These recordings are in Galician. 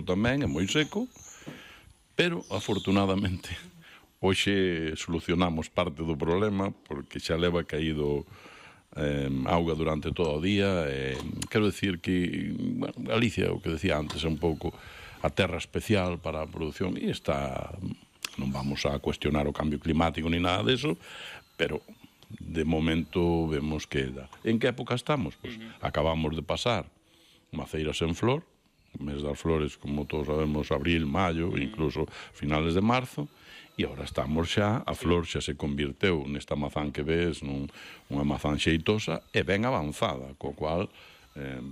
tamén, é moi seco, pero, afortunadamente, hoxe solucionamos parte do problema, porque xa leva caído auga durante todo o día. Quero decir que, bueno, Galicia, o que decía antes, é un pouco a terra especial para a produción, e está, non vamos a cuestionar o cambio climático ni nada deso, pero de momento vemos que dá. En que época estamos? Pues acabamos de pasar maceiras en flor, o mes das flores, como todos sabemos, abril, maio, incluso finales de marzo, e agora estamos xa, a flor xa se convirteu nesta mazán que ves, unha mazán xeitosa e ben avanzada, co cual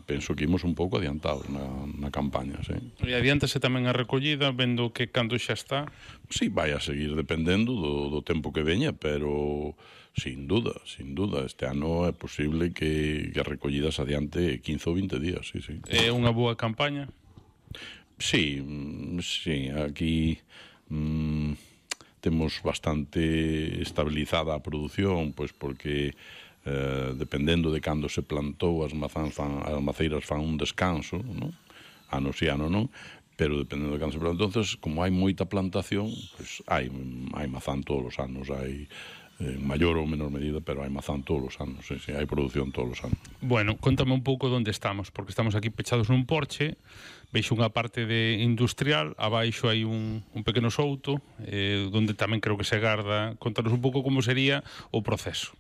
penso que imos un pouco adiantados na campaña, sí. E adiántase tamén a recollida, vendo que cando xa está... Sí, vai a seguir dependendo do tempo que veña, pero sin duda, este ano é posible que a recollida se adiante 15 ou 20 días, sí, sí. É unha boa campaña? Sí, aquí temos bastante estabilizada a produción, pois porque dependendo de cando se plantou as maceiras fan un descanso, non? Ano si ano non, pero dependendo de cando se plantou, entonces, como hai moita plantación, pois hai mazán todos os anos, hai en maior ou menor medida, pero hai mazán todos os anos, sí, hai produción todos os anos. Bueno, contame un pouco onde estamos, porque estamos aquí pechados nun porche, veixo unha parte de industrial, abaixo hai un pequeno souto, onde tamén creo que se garda. Contanos un pouco como sería o proceso.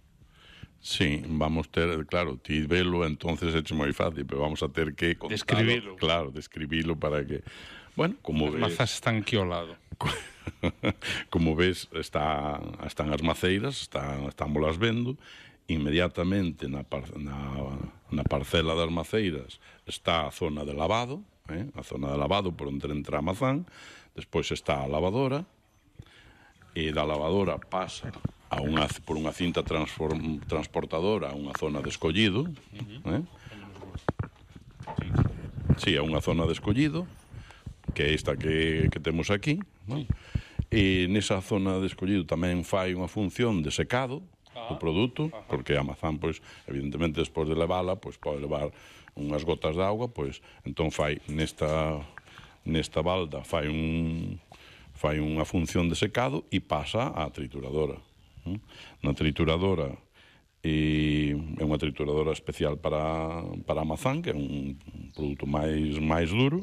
Sí, vamos ter, claro, ti velo, entonces é moi fácil, pero vamos a ter que contalo. Describilo. Claro, describilo para que... Bueno, como ves... As mazas están aquí ao lado. Como ves, están as maceiras, estámoslas vendo, inmediatamente na parcela das maceiras está a zona de lavado, a zona de lavado por onde entra a mazán, despois está a lavadora, e da lavadora pasa por unha cinta transportadora a unha zona de escollido, sí, a unha zona de escollido, que é esta que temos aquí, e nesa zona de escollido tamén fai unha función de secado do produto, porque a mazán, pois, evidentemente, despois de levala, pois pode levar unhas gotas de auga, pois, entón fai nesta balda, fai unha función de secado e pasa á trituradora. Na trituradora é unha trituradora especial para a mazán, que é un produto máis duro,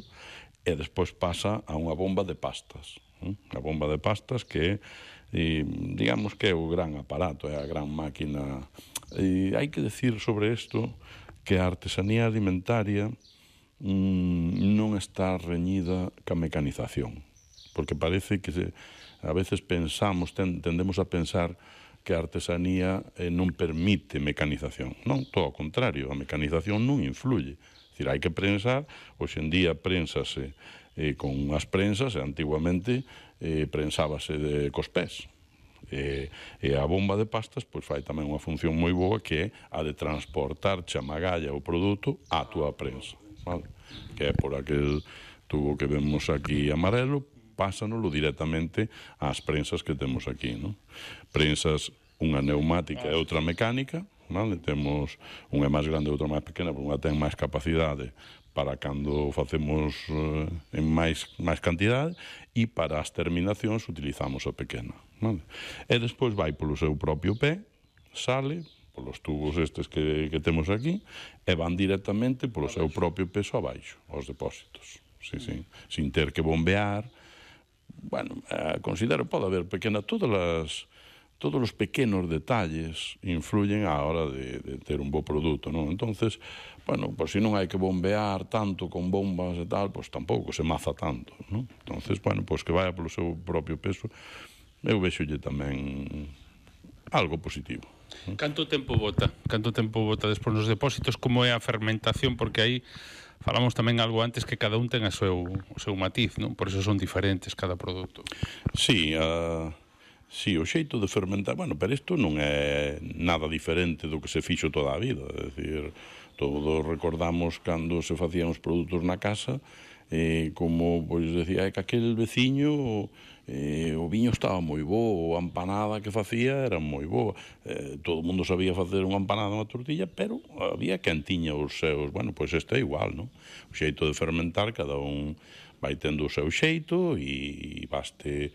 e despois pasa a unha bomba de pastas. A bomba de pastas que digamos que é o gran aparato, é a gran máquina. E hai que decir sobre isto que a artesanía alimentaria non está reñida ca mecanización, porque parece que a veces tendemos a pensar que a artesanía non permite mecanización. Non, todo ao contrario, a mecanización non influye. É dicir, hai que prensar, hoxe en día prénsase con as prensas, e antiguamente prensábase cos pés. E a bomba de pastas pois fai tamén unha función moi boa, que é a de transportar a magalla o produto á túa prensa, vale? Que é por aquel tubo que vemos aquí amarelo, pásanolo directamente ás prensas que temos aquí, non? Prensas, unha neumática e outra mecánica, vale? Temos unha máis grande e outra máis pequena, porque unha ten máis capacidade para cando facemos en máis cantidade, e para as terminacións utilizamos a pequena, vale? E despois vai polo seu propio pé, sale polos tubos estes que temos aquí, e van directamente polo seu propio peso abaixo, aos depósitos, sí, sin ter que bombear. Bueno, considero pode haber pequena, todos os pequenos detalles influyen á hora de ter un bo produto, non? Entonces, bueno, pois se non hai que bombear tanto con bombas e tal, pois tampouco se maza tanto, non? Entonces, bueno, pois que vaya polo seu propio peso, eu vexolle tamén algo positivo. Canto tempo bota? Despois nos depósitos? Como é a fermentación? Porque aí falamos tamén algo antes, que cada un ten o seu matiz, non? Por iso son diferentes cada produto. Sí, o xeito de fermentar, bueno, pero isto non é nada diferente do que se fixo toda a vida, é dicir, todos recordamos cando se facían os produtos na casa, como, pois, decía, que aquel veciño o viño estaba moi bo, a empanada que facía era moi boa, todo o mundo sabía facer unha empanada, unha tortilla, pero había quen tiña os seus, bueno, pois este é igual, non? O xeito de fermentar, cada un vai tendo o seu xeito e baste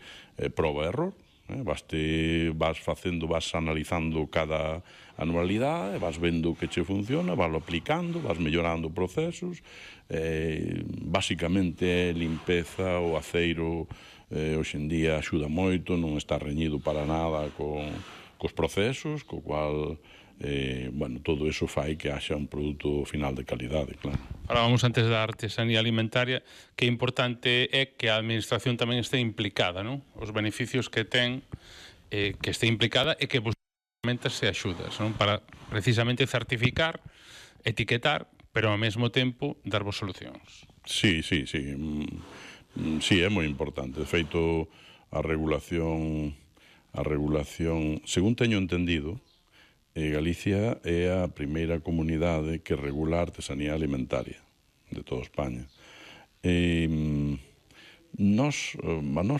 prova e error. Vas facendo, vas analizando cada anualidade, vas vendo que che funciona, vas aplicando, vas mellorando procesos. Basicamente é limpeza, o aceiro hoxe en día axuda moito, non está reñido para nada cos procesos, co cual todo eso fai que haxa un produto final de calidade, claro. Falábamos antes da artesanía alimentaria, que importante é que a administración tamén este implicada, non? Os beneficios que ten, que este implicada e que vos ferramentas e axudas, non? Para precisamente certificar, etiquetar, pero ao mesmo tempo darvos solucións. Sí, é moi importante. De feito, a regulación, según teño entendido, Galicia é a primeira comunidade que regula a artesanía alimentaria de toda España. Nos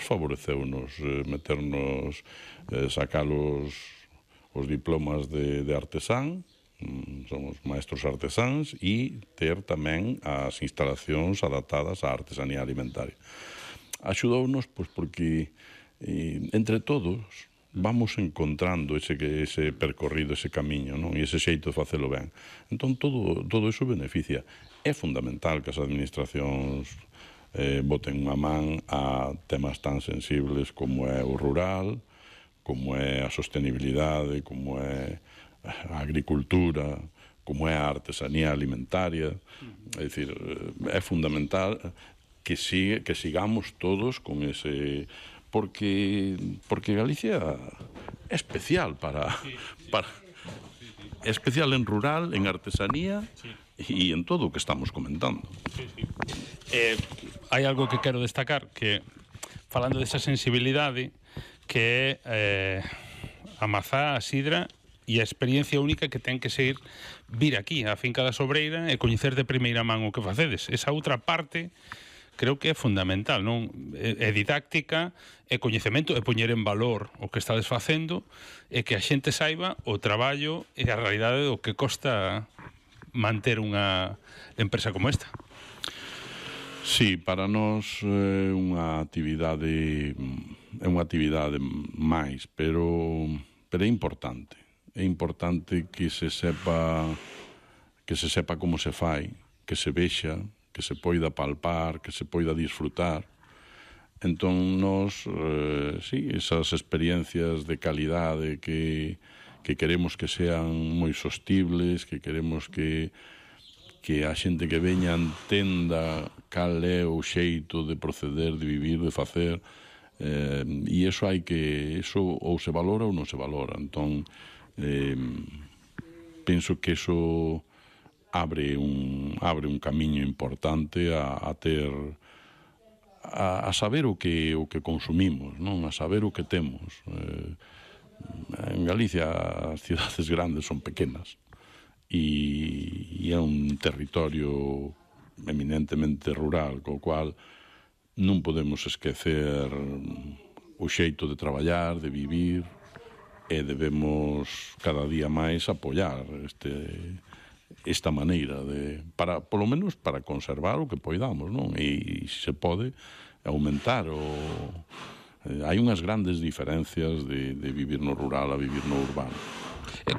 favoreceunos meternos, sacar os diplomas de artesán, somos maestros artesáns, e ter tamén as instalacións adaptadas á artesanía alimentaria. Axudounos porque entre todos vamos encontrando ese percorrido, ese camiño, non? E ese xeito de facelo ben. Entón, todo iso beneficia. É fundamental que as administracións boten unha man a temas tan sensibles como é o rural, como é a sostenibilidade, como é a agricultura, como é a artesanía alimentaria. É dicir, é fundamental que sigamos todos con ese... Porque Galicia é especial é especial en rural, en artesanía e en todo o que estamos comentando. Hai algo que quero destacar, que falando desa sensibilidade, que é a mazá, a sidra e a experiencia única que ten que ser vir aquí á finca da Sobreira e coñecer de primeira man o que facedes. Esa outra parte creo que é fundamental, non? É didáctica, é coñecemento, é poñer en valor o que estades facendo e que a xente saiba o traballo e a realidade do que costa manter unha empresa como esta. Sí, para nós é unha actividade máis, pero é importante. É importante que se sepa como se fai, que se vexa, que se poida palpar, que se poida disfrutar. Entón, nós, esas experiencias de calidade que queremos que sean moi sostibles, que queremos que a xente que veña entenda cal é o xeito de proceder, de vivir, de facer, e iso ou se valora ou non se valora. Entón, penso que iso abre un camiño importante a saber o que consumimos, non? A saber o que temos. En Galicia as cidades grandes son pequenas e é un territorio eminentemente rural, co cual non podemos esquecer o xeito de traballar, de vivir, e debemos cada día máis apoiar esta maneira polo menos para conservar o que poidamos, non? E se pode aumentar hai unhas grandes diferencias de vivir no rural a vivir no urbano.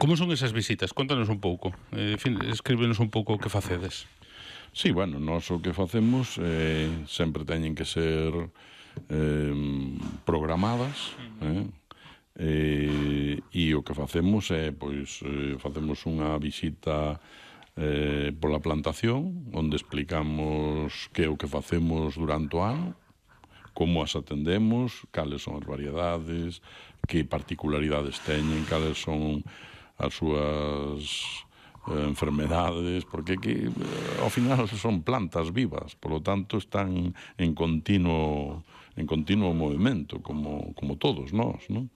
Como son esas visitas? Contanos un pouco. Escríbenos un pouco o que facedes. Sí, bueno, nós o que facemos sempre teñen que ser programadas, e o que facemos é, facemos unha visita pola plantación, onde explicamos que é o que facemos durante o ano, como as atendemos, cales son as variedades, que particularidades teñen, cales son as súas enfermedades, porque ao final son plantas vivas, polo tanto están en continuo movimento, como todos nós, non?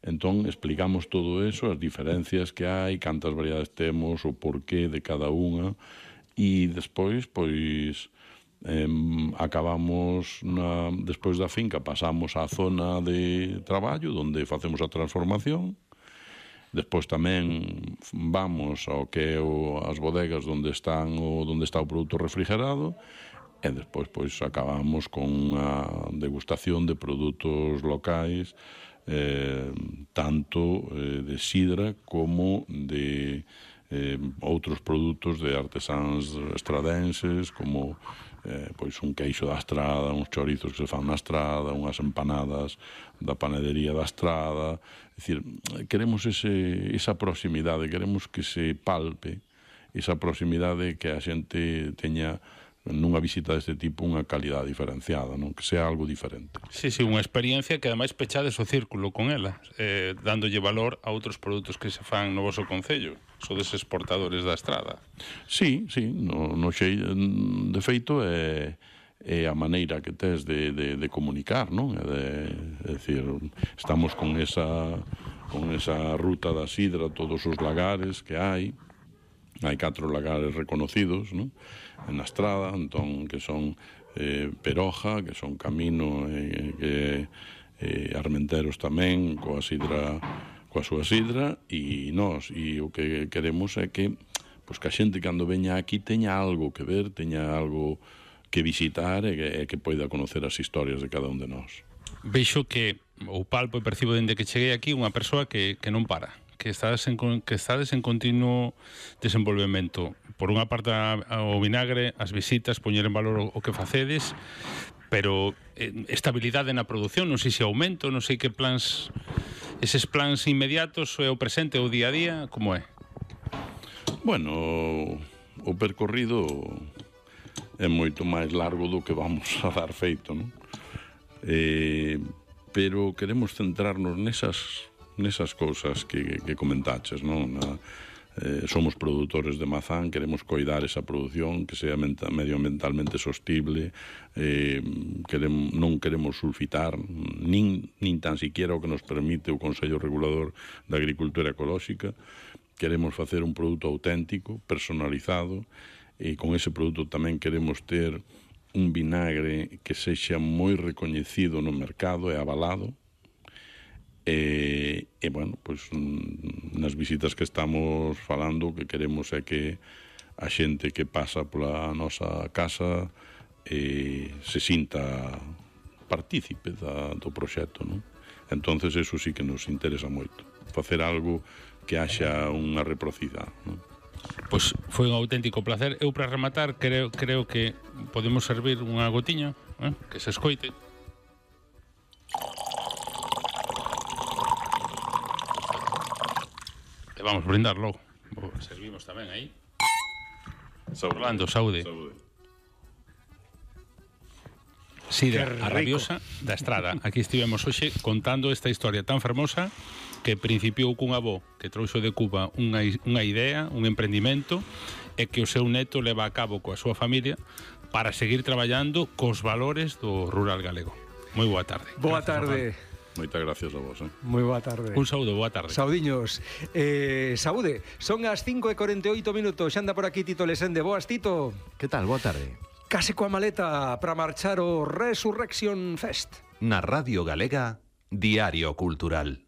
Entón, explicamos todo eso, as diferencias que hai, cantas variedades temos, o porqué de cada unha, e despois, acabamos, despois da finca, pasamos á zona de traballo, onde facemos a transformación. Despois tamén vamos ao que é as bodegas onde está o produto refrigerado, e despois pois acabamos con a degustación de produtos locais, tanto de sidra como de outros produtos de artesáns estradenses, como pois un queixo da Estrada, uns chorizos que se fan na Estrada, unhas empanadas da panadería da Estrada. É dicir, queremos esa proximidade, queremos que se palpe esa proximidade, que a xente teña nunha visita deste tipo unha calidade diferenciada, non? Que sea algo diferente. Sí, unha experiencia que ademais pechades o círculo con ela, dándolle valor a outros produtos que se fan no voso concello. Sodes exportadores da Estrada. Sí, de feito é a maneira que tes de comunicar, non? É dicir, estamos con esa ruta da sidra, todos os lagares que hai 4 lagares reconocidos, non? Na Estrada, entón, que son Peroja, que son Camino, Armenteros tamén, coa súa sidra, e nós, e o que queremos é que a xente cando veña aquí teña algo que ver, teña algo que visitar e que poida conocer as historias de cada un de nós. Veixo que o palpo e percibo dende que cheguei aquí unha persoa que non para, que estades en continuo desenvolvemento. Por unha parte o vinagre, as visitas, poñer en valor o que facedes, pero estabilidade na produción, non sei se aumento, non sei que plans, eses plans inmediatos, é o presente, o día a día, como é? Bueno, o percorrido é moito máis largo do que vamos a dar feito, non? Pero queremos centrarnos nesas cousas que comentaches, non? Somos produtores de mazán, queremos coidar esa produción que sea medioambientalmente sostible, non queremos sulfitar nin tan siquiera o que nos permite o Consello Regulador da Agricultura Ecolóxica. Queremos facer un produto auténtico, personalizado, e con ese produto tamén queremos ter un vinagre que sexa moi recoñecido no mercado e avalado. E bueno, pois nas visitas que estamos falando, o que queremos é que a xente que pasa pola nosa casa se sinta partícipe do proxecto, non? Entonces eso sí que nos interesa moito, facer algo que haxa unha reciprocidade, non? Pois foi un auténtico placer. Eu, para rematar, creo que podemos servir unha gotiña, que se escoite. E vamos brindar logo. Servimos tamén aí. Orlando, saúde. Sidra a rabiosa da Estrada. Aquí estivemos hoxe contando esta historia tan fermosa que principiou cun avó que trouxo de Cuba unha idea, un emprendimento, e que o seu neto leva a cabo coa súa familia para seguir traballando cos valores do rural galego. Moi boa tarde. Boa tarde. Moitas gracias a vos. Moi boa tarde. Un saúdo, boa tarde. Saudiños. Saúde, son as 5:48 minutos. Xa anda por aquí Tito Lesende. Boas, Tito. Que tal? Boa tarde. Case coa maleta para marchar o Resurrection Fest. Na Radio Galega, Diario Cultural.